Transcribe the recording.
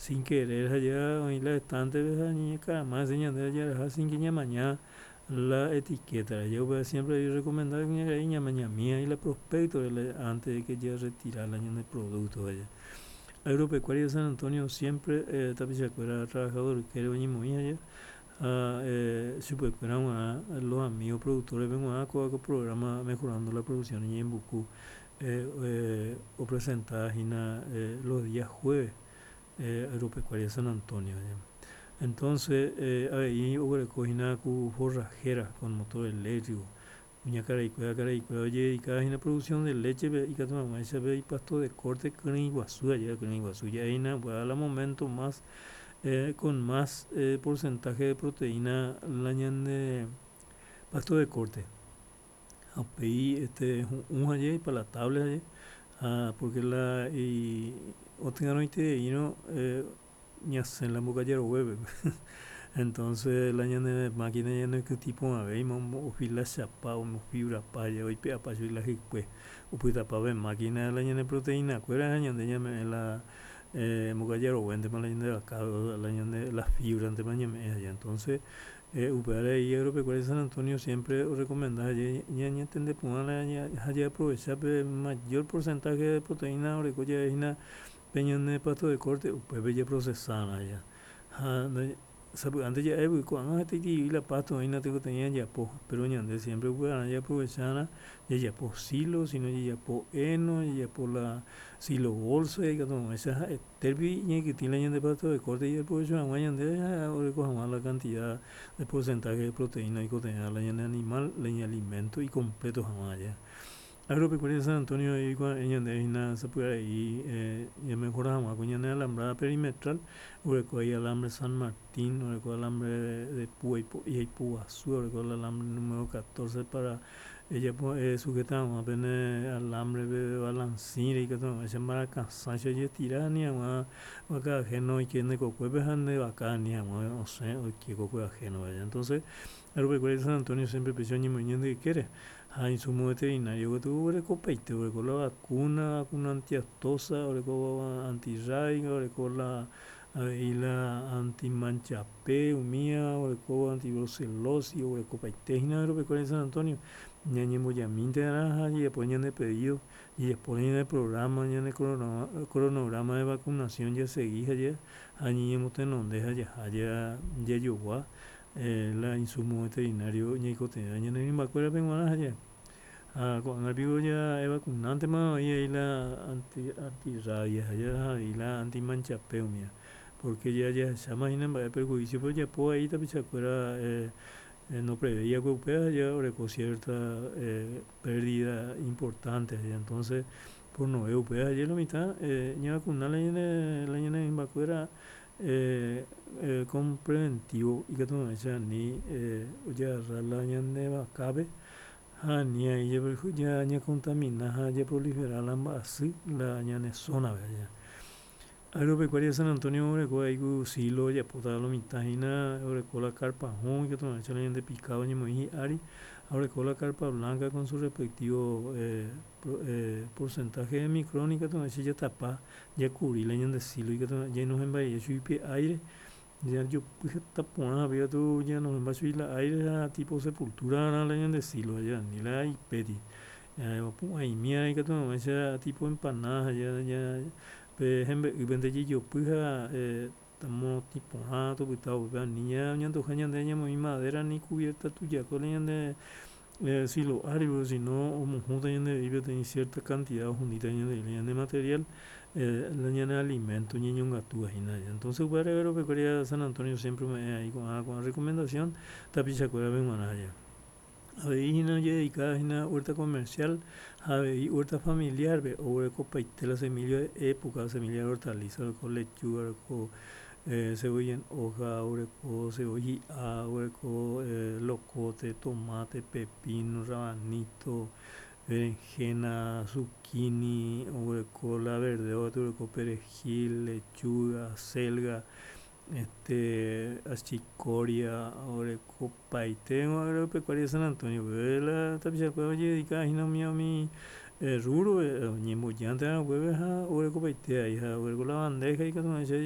Sin querer ha ja oĩ la estante-pe ha ñañekarama hese ñande jaraha sin que ñamaña la etiqueta-re. Ja upéva siempre oñerrecomenda kuñakarai ñamañami ahí la prospecto-re la antes de que jarretira la ñane producto aja. Agropecuaria San Antonio siempre tapichakuéra trabajador ykére oñemoĩ aja ha chupekuéra g̃uarã los amigos productores-pe g̃uarã kóva ko programa Mejorando la Producción Ñe'ẽmbuku opresenta hína los días jueves Agropecuaria San Antonio. Entonces avei oguereko hína ku forrajera con motor eléctrico kuñakaraikuéra karaikuéra ojededicada hína producción de leche-pe ikatu hag̃uáicha pe ipasto de corte kyrỹi guasu ajéva kyrỹi guasu ja'éina upéva la momento más con más porcentaje de proteína la ñande pasto de corte. Ha upéi este hu'ũ haye ipalatable haye ha porque la otyarõitereírõ ñasẽ la mbokaja roguépe entonces la ñane máquina ñanekytĩ porãvéima omofilachapa omofibrapa haye oipe'apa chugui la hykue opytapa pe máquina la ñane proteína kuéra ha ñande ñame'ẽ la mbokaja roguéntema la ñande vaka la ñande la fibra-ntema ñame'ẽ haye entonces Upévare ahí Agropecuaria San Antonio siempre orecomenda ñañatende porã ha jaaprovecha pe mayor porcentaje de proteína oreko jave hína pe ñane pasto de corte upépe japrocesarã ja. Ha sapy'ánte ja'évy ko'ág̃a hetaiterei la pasto oĩna tekotevẽ jajapo, pero ñande siempre upevarã jaaprovechaarã jajapo silo, sino jajapo heno, jajapo la silo bolsa ikatu hag̃uáicha ha'ete. Upépe ñaikytĩ la ñande pasto de corte japrovecho hag̃ua ñande ha oreko hag̃ua la cantidad de porcentaje de proteína oikotevẽva la ñane animal, la iñalimento icompleto hag̃ua aja. Agropecuaria San Antonio oikuave'ẽ ñande hína sapy'arei ñamejora hag̃ua ko ñane alambrada perimetral, oreko ahí alambre San Martín, oreko alambre de púa ipo'i ha ipuguasúva, oreko la alambre número 14 para Ejapo esujeta hag̃ua pene alambre-pe balancín-re ikatu hag̃uáicha mbarakasãicha ojetira ani hag̃ua vaka ajeno oike nde kokuépe ha nde vaka ani hag̃ua osẽ oike kokue ajeno-pe. Entonces, arupekuéra San Antonio siempre péicha oñemoĩ ñande ykére ha insumo veterinario katu oguerekopaite, oreko la vacuna, vacuna antiaftosa, oreko antirrábica, oreko la avei la antimancha. Pe umía orekóva antibrucelosis oguerekopaite hína agropecuaria San Antonio, ñañembojamínte arã ha jajapo ñande pedido, jajapóne ñande programa, ñane cronograma de vacunación jasegi ha ñañemotenonde ha jaha jajogua la insumo veterinario ñaikotevẽva ñane rymbakuérape g̃uarã ha jaha. Ha ko'ág̃a piko ja'evakunántema oĩ ai la antirrabia ha avei la antimanchape umía. Pórke jahecháma hína mba'e perhuísiope ojapo vai tapichakuéra noprevéi va'ekue upéva ha ja oreko siérta pérdida importánte. Entónse pornove upéva aje lo mitã ñavakuna la ñane rymbakuéra kon preventívo ikatu hag̃uáicha ani ojagarra la ñane vakápe ha ani ai ñakontamina ha japrolifera la mba'asy la ñane sónape. Agropecuaria San Antonio oreko ai ku silo ojapóta lo mitã hína, oreko la carpa hũ ikatu hag̃uáicha la ñande picado oñemoĩ hi'ári, ha oreko la carpa blanca con su respectivo porcentaje de micrón ikatu hag̃uáicha jatapa, jakuri la ñande silo ikatu hag̃uáicha ñainohẽmba chugui pe aire, jajopy heta porã ha katu ñanohẽmba chugui la aire ha tipo sepultura la ñande silo ha ani la ipéti. Opu'ãimi ikatu hag̃uáicha tipo empanada pe hembe'ýpente jejopy ha morotĩ porã topyta upépe ani ñanduha ñande ñamoĩ madera ni cubierta tujakue la ñande silo ári sino omohũta ñandevei peteĩ cierta cantidad ohundíta ñandevei la ñane material la ñane alimento ñañongatúva hína. Entonces upévare agropecuaria San Antonio siempre ome'ẽ ahí ko'ã ko'ã recomendación tapichakuérape g̃uarã. Avei hína ojededika hína huerta comercial ha avei huerta familiar-pe oguerekopaite la semilla de época, semilla de hortaliza, oreko lechuga, oreko cebolla en hoja, oreko cebolla hi'a, oreko locote, tomate, pepino, rabanito, berenjena, zucchini, oreko la verdeo katu oreko perejil, lechuga, acelga, Este achicoria orekopaite agropecuaria San Antonio pe la tapichakuéra ojededika hína umi umi rubro-pe oñembojánte upépe ha orekopaite ai ha oguereko la bandeja ikatu hag̃uáicha.